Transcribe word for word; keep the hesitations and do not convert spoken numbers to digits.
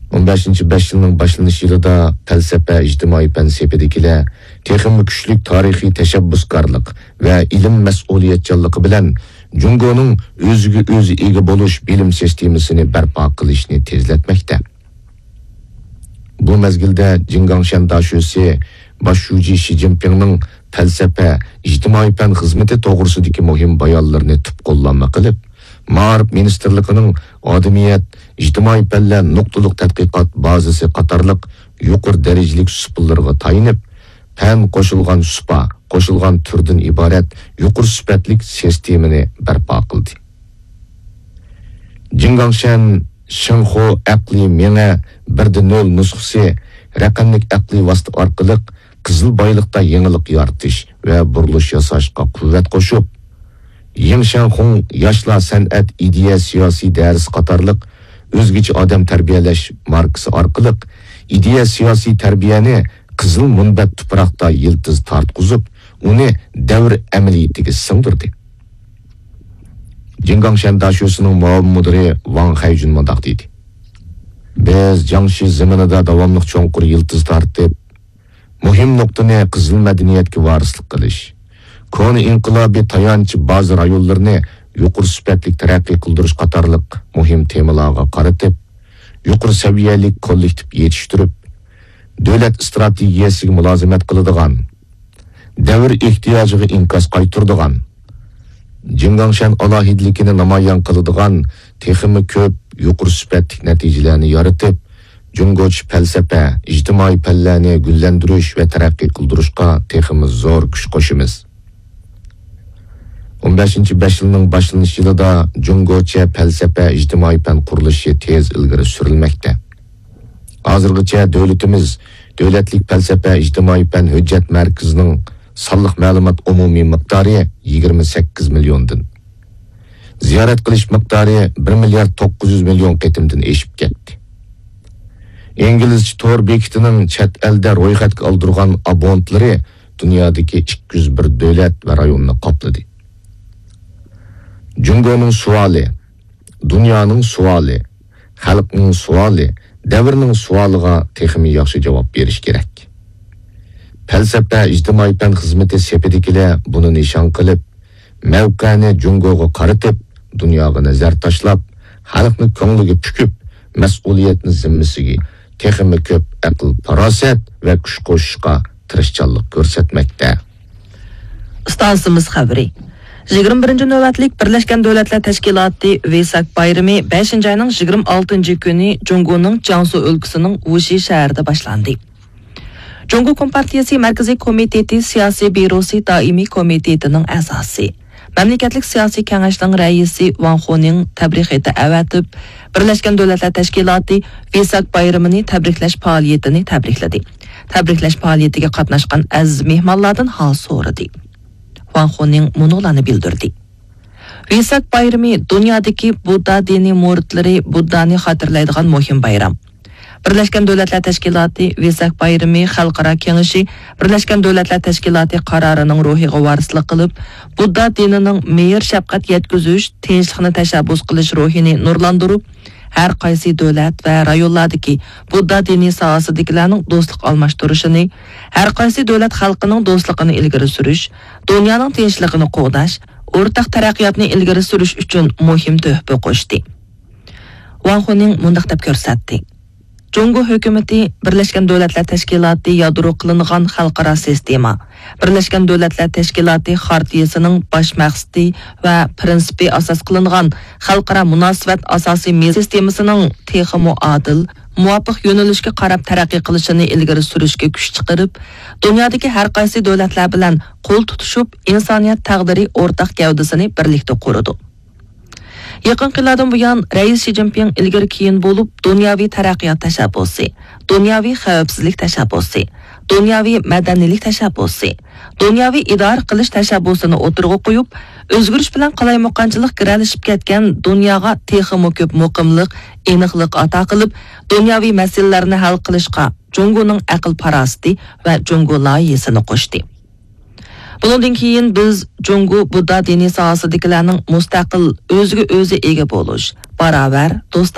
ئون بەشىنچى بەش يىلنىڭ باشلىنىش يىلىدا پەلسەپە، ئىجتىمائىي پەن سېپىدىكىلەر تېخىمۇ كۈچلۈك تارىخىي تەشەببۇسكارلىق ۋە ئىلىم مەسئۇلىيەتچانلىقى بىلەن جۇڭگونىڭ ئۆزىگە ئۆزى ئىگە بولۇش بىلىم سىستېمىسىنى بەرپا قىلىشنى تېزلەتمەكتە. بۇ مەزگىلدە جىڭگاڭشەن داشۆسى باش شۇجى شى جىنپىڭنىڭ پەلسەپە، ئىجتىمائىي پەن خىزمىتى توغرىسىدىكى مۇھىم بايانلىرىنى تۈپ قوللانما قىلىپ، مائارىپ مىنىستىرلىقىنىڭ ئادىمىيەت، ئىجتىمائىي پەنلەر نۇقتىلىق تەتقىقات بازىسى قاتارلىق يۇقىرى دەرىجىلىك سۇپىلىرىغا تايىنىپ، پەن قوشۇلغان سۇپا، قوشۇلغان تۈردىن ئىبارەت يۇقىرى سۈپەتلىك سىستېمىنى بەرپا قىلدى. جىڭگاڭشەن شىنخۇ ئەقلىي مېڭە بىردە نۆل نۇسخىسى رەقەملىك ئەقلىي ۋاسىتە ئارقىلىق قىزىل بايلىقتا يېڭىلىق يارىتىش ۋە بۇرۇلۇش ياساشقا قۇۋۋەت قوشۇپ، يىڭ شياڭخۇڭ ياشلار سەنئەت ئىدىيە سىياسىي دەرسى قاتارلىق ئۆزگىچە ئادەم تەربىيەلەش ماركىسى ئارقىلىق ئىدىيە سىياسىي تەربىيەنى قىزىل مۇنبەت تۇپراقتا يىلتىز تارتقۇزۇپ، ئۇنى دەۋر ئەمەلىيىتىگە سىڭدۈردى. جىڭگاڭشەن داشۆسىنىڭ مۇئاۋىن مۇدىرى ۋاڭ خەيجۈن مۇنداق دېدى: بىز جياڭشى زېمىنىدا داۋاملىق چوڭقۇر يىلتىز تارتىپ، مۇھىم نۇقتىنى قىزىل مەدەنىيەتكە ۋارىسلىق قىلىش، كونا ئىنقىلابىي تايانچ بازا رايونلىرىنى يۇقىرى سۈپەتلىك تەرەققىي قىلدۇرۇش قاتارلىق مۇھىم تېمىلارغا قارىتىپ، يۇقىرى سەۋىيەلىك كوللېكتىپ يېتىشتۈرۈپ، دۆلەت ئىستراتېگىيەسىگە مۇلازىمەت قىلىدىغان، دەۋر ئېھتىياجىغا ئىنكاس قايتۇرىدىغان، جىڭگاڭشەن ئالاھىدىلىكىنى نامايان قىلىدىغان تېخىمۇ كۆپ يۇقىرى سۈپەتلىك نەتىجىلەرنى يارىتىپ، جۇڭگوچە پەلسەپە، ئىجتىمائىي پەنلەرنى گۈللەندۈرۈش ۋە تەرەققىي قىلدۇرۇشقا تېخىمۇ زور كۈچ قوشىمىز. ئون بەشىنچى بەش يىلنىڭ باشلىنىش يىلىدا جۇڭگوچە پەلسەپە، ئىجتىمائىي پەن قۇرۇلۇشى تېز ئىلگىرى سۈرۈلمەكتە. ھازىرغىچە دۆلىتىمىز دۆلەتلىك پەلسەپە، ئىجتىمائىي پەن ھۆججەت مەركىزىنىڭ سانلىق مەلۇمات ئومۇمىي مىقدارى يىگىرمە سەككىز مىليوندىن، زىيارەت قىلىش مىقدارى بىر مىليارد توققۇز يۈز مىليون قېتىمدىن ئېشىپ كەتتى. ئىنگلىزچە تور بېكىتىنىڭ چەت ئەلدە رويخەتكە ئالدۇرغان ئابونتلىرى دۇنيادىكى ئىككى يۈز بىر دۆلەت ۋە رايوننى قاپلىدى. جۇڭگونىڭ سوئالى، دۇنيانىڭ سوئالى، خەلقنىڭ سوئالى، دەۋرنىڭ سوئالىغا تېخىمۇ ياخشى جاۋاب بېرىش كېرەك. پەلسەپە، ئىجتىمائىي پەن خىزمىتى سېپىدىكىلەر بۇنى نىشان قىلىپ، مەۋقەنى جۇڭگوغا قارىتىپ، دۇنياغا نەزەر تاشلاپ، خەلقنى كۆڭلىگە پۈكۈپ، مەسئۇلىيەتنى زىممىسىگە تېخىمۇ كۆپ ئەقىل-پاراسەت ۋە كۈچ قوشۇشقا تىرىشچانلىق كۆرسەتمەكتە. ئىستانسىمىز خەۋىرى. يىگىرمە بىرىنچى نۆۋەتلىك بىرلەشكەن دۆلەتلەر تەشكىلاتى ۋېساك بايرىمى بەشىنچى ئاينىڭ يىگىرمە ئالتىنچى كۈنى جۇڭگونىڭ جياڭسۇ ئۆلكىسىنىڭ ۋۇشى شەھىرىدە باشلاندى. جۇڭگو كومپارتىيىسى مەركىزىي كومىتېتى سىياسىي بيۇروسى دائىمىي كومىتېتىنىڭ ئەزاسى، مەملىكەتلىك سىياسىي كېڭەشنىڭ رەئىسى ۋاڭ خۇنىڭ تەبرىك خېتى ئەۋەتىپ، بىرلەشكەن دۆلەتلەر تەشكىلاتى ۋېساك بايرىمىنى تەبرىكلەش پائالىيىتىنى تەبرىكلىدى. تەبرىكلەش پائالىيىتىگە قاتناشقان ئەزىز مېھمانلاردىن ھال سورىدى. ۋاڭ خۇنىڭ مۇنۇلارنى بىلدۈردى. ۋېساك بايرىمى دۇنيادىكى بۇددا دىنىي مۇرىتلىرى بۇددانى خاتىرىلەيدىغان مۇھىم بايرام. بىرلەشكەن دۆلەتلەر تەشكىلاتى ۋېساك بايرىمى خەلقئارا كېڭىشى بىرلەشكەن دۆلەتلەر تەشكىلاتى قارارىنىڭ روھىغا ۋارىسلىق قىلىپ، بۇددا دىنىنىڭ مېھىر-شەپقەت يەتكۈزۈش، تىنچلىقنى تەشەببۇس قىلىش روھىنى نۇرلاندۇرۇپ، ھەر قايسى دۆلەت ۋە رايونلاردىكى بۇددا دىنىي ساھەسىدىكىلەرنىڭ دوستلۇق ئالماشتۇرۇشىنى، ھەر قايسى دۆلەت خەلقىنىڭ دوستلۇقىنى ئىلگىرى سۈرۈش، دۇنيانىڭ تىنچلىقىنى قوغداش، ئورتاق تەرەققىياتنى ئىلگىرى سۈرۈش ئۈچۈن مۇھىم تۆھپە قوشتى. ۋاڭ خۇنىڭ مۇنداق دەپ كۆرسەتتى: جۇڭگو ھۆكۈمىتى بىرلەشكەن دۆلەتلەر تەشكىلاتى يادرو قىلىنغان خەلقئارا سىستېما، بىرلەشكەن دۆلەتلەر تەشكىلاتى خارتىيىسىنىڭ باش مەقسىتى ۋە پىرىنسىپى ئاساس قىلىنغان خەلقئارا مۇناسىۋەت ئاساسىي مېزى سىستېمىسىنىڭ تېخىمۇ ئادىل، مۇۋاپىق يۆنىلىشكە قاراپ تەرەققىي قىلىشىنى ئىلگىرى سۈرۈشكە كۈچ چىقىرىپ، دۇنيادىكى ھەر قايسى دۆلەتلەر بىلەن قول تۇتۇشۇپ، ئىنسانىيەت تەقدىرى ئورتاق گەۋدىسىنى بىرلىكتە قۇرىدۇ. يېقىنقى يىللاردىن بۇيان، رەئىس شى جىنپىڭ ئىلگىرى كېيىن بولۇپ، دۇنياۋى تەرەققىيات تەشەببۇسى، دۇنياۋى خەۋپسىزلىك تەشەببۇسى، دۇنياۋى مەدەنىيلىك تەشەببۇسى، دۇنياۋى ئىدارە قىلىش تەشەببۇسىنى ئوتتۇرىغا قويۇپ، ئۆزگىرىش بىلەن قالايمىقانچىلىق گىرەلىشىپ كەتكەن دۇنياغا تېخىمۇ كۆپ مۇقىملىق، ئېنىقلىق ئاتا قىلىپ، دۇنياۋى مەسىلىلەرنى ھەل قىلىشقا جۇڭگونىڭ ئەقىل-پاراسىتى ۋە جۇڭگو لايىھىسىنى قوشتى. بۇنىڭدىن كېيىن بىز جۇڭگو بۇددا دىنى ساھەسىدىكىلەرنىڭ مۇستەقىل، ئۆزىگە ئۆزى ئىگە بولۇش، باراۋەر، دوستانە